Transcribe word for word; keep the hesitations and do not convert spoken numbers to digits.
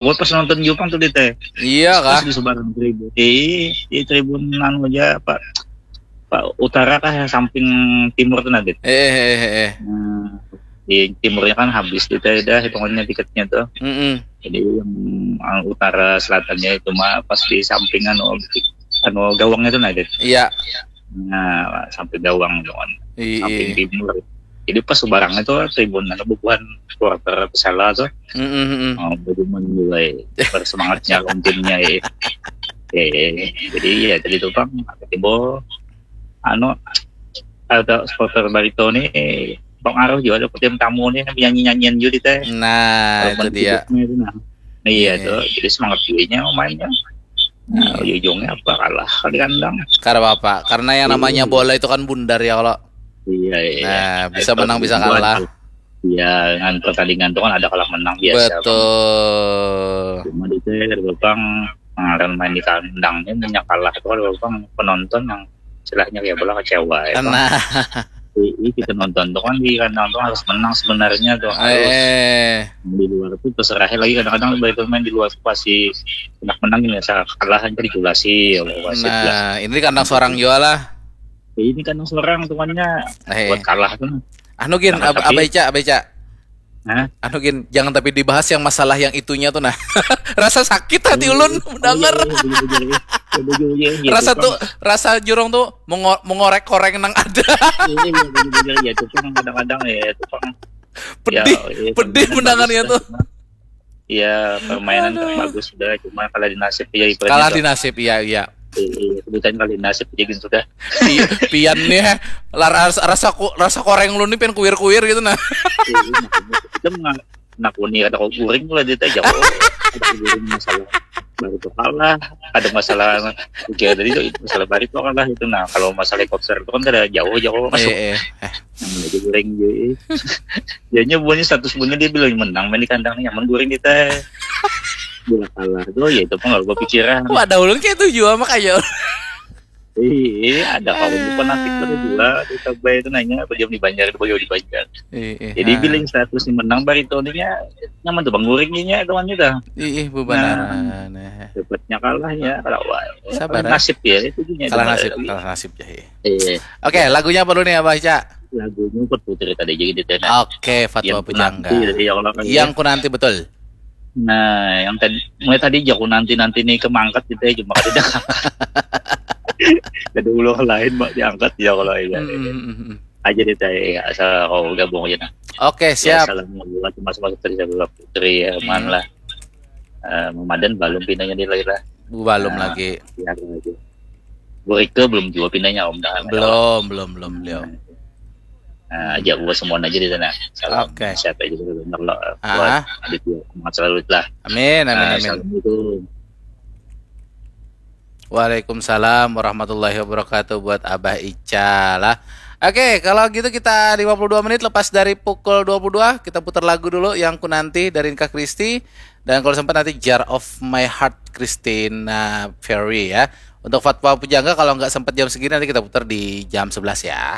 Gue pas nonton Jepang tuh di teh. Iya kah? Pas di sebarang tribun. Di, di tribun anu aja apa? Pak utara kah yang samping timur tuh nanti. Eh eh eh eh. Nah, di timurnya kan habis di teh dah hitungannya tiketnya tuh. Mm-mm. Jadi yang, yang utara selatannya itu mah pas di samping anu anu gawangnya tuh nanti. Iya. Nah, sampai gawang tuh kan. Iya. Samping timur. Jadi pas sebarang itu tribun anu bubuhan supporter Persela tuh. Mm-mm, mm-mm. Oh, bubuhan juga ya. Bersemangatnya lawan timnya ya. Eh, jadi ya tadi tuh bang, timbul anu ada supporter Barito nih pengaruh juga ada tim tamu nih nyanyi nyanyian juga teh. Nah, itu dia. Nah, iya Iya. Tuh, jadi semangat juga mainnya. Nah, Iya. Ujungnya apa kalah di kandang. Kada apa-apa, karena yang namanya bola itu kan bundar ya kalau. Iya, iya. Nah, bisa Kalau menang bisa bubuhan, kalah. Iya, dengan pertandingan tuh kan ada kalah menang biasa. Bang. Betul. Cuma di teh bang pengaran main di kandang ini yang kalah tuh kalau bang penonton yang istilahnya kayak bola kecewa ya. Bang. Nah, Iya, kita nonton tuh kan di kandang tuh harus menang sebenarnya tuh harus eh, di luar tuh terserah lagi kadang-kadang baik main di luar tuh pasti enak menang ini asal kalah aja diculasi ya wasit lah. Nah, ini di kandang seorang juga lah. Ya, ini kan seorang tuannya Eh, buat kalah tuh. Anu gin, Nah, ab- tapi- abaica, abaica. Hah? Anu gin, jangan tapi dibahas yang masalah yang itunya tuh nah. Rasa sakit hati ulun mendengar. Iya, iya, iya, iya, iya, iya, iya, iya, Rasa Bang. Tuh, rasa jurung tuh mengo- mengorek-koreng nang ada. Iya, iya, iya, iya, iya, iya, itu kan kadang-kadang ya itu kan. Pedih, Ya, iya, pedih permainan mendengarnya bagus tuh. Cuma, ya permainan kan Aduh. Bagus sudah, cuma kalah di nasib ya ibaratnya. Kalah Tuh. Di nasib, iya, iya. Iya, iya, kebetulan kalah di nasib aja gitu sudah. Pi- Pian nih, lah, rasa rasa, ku- rasa koreng lu nih pian kuir-kuir gitu nah. Iya, iya, maksudnya, kita menga- nakuni ada kau guring lah dia teh jago. Ada kau guring masalah Barito kalah, ada masalah kayak tadi tuh masalah Barito kalah itu. Nah, kalau masalah helikopter itu kan ada jauh-jauh masuk. Eh, eh. Nah, jadi guring jadi. Jadinya buahnya status buahnya dia bilang menang main di kandang nyaman guring kita. Bila kalah tuh ya itu pun gak pikiran. Wah, ada ulun kayak itu juga makanya. Iya, ada kawan fanatik pada juga di Tabai itu nanya apa jam di Banjar, apa jam di Banjar. Eh, eh, Jadi ah. Bilang status menang Barito ini ya nyaman tuh bang guring ini ya kawan kita. Ih, ih, bebanaran. Eh. Dapatnya kalah ya kalau wah, Sabar, kalah eh. Nasib ya itu juga. Kalah nasib, kalah nasib ya. Iya. Oke, lagunya apa dulu nih Abah Ica? Lagunya buat putri tadi aja gitu ya. Oke, Fatwa Yang Pujangga. Nanti, ya, kalau kan Yang ya. Ku Nanti, betul. Nah, yang tadi mulai tadi jago nanti nanti nih kemangkat gitu ya cuma kada. Ada ulah lain mak diangkat ya kalau ya. Mm, mm, mm, mm. Aja deh teh asal kau gabung aja nah. Oke, Ya, siap. Salam buat mas mas putri putri ya man Hmm. Lah. Eh, memadan balum pinanya di lagi lah. Balum Nah, lagi. Ya aja. Burike belum juga pinanya om dah. Belum, belum, belum, belum. Nah, aja gua semua aja di sana. Salam Oke. Sehat aja dulu bener lo. Ah. Buat Aditya semangat selalu lah. Amin, amin, Nah, amin. Assalamualaikum. Waalaikumsalam warahmatullahi wabarakatuh buat Abah Ica lah. Oke, kalau gitu kita lima puluh dua menit lepas dari pukul dua puluh dua, kita putar lagu dulu Yang Ku Nanti dari Inka Kristi. Dan kalau sempat nanti Jar of My Heart Christina Perri ya. Untuk Fatwa Pujangga kalau nggak sempat jam segini nanti kita putar di jam sebelas ya.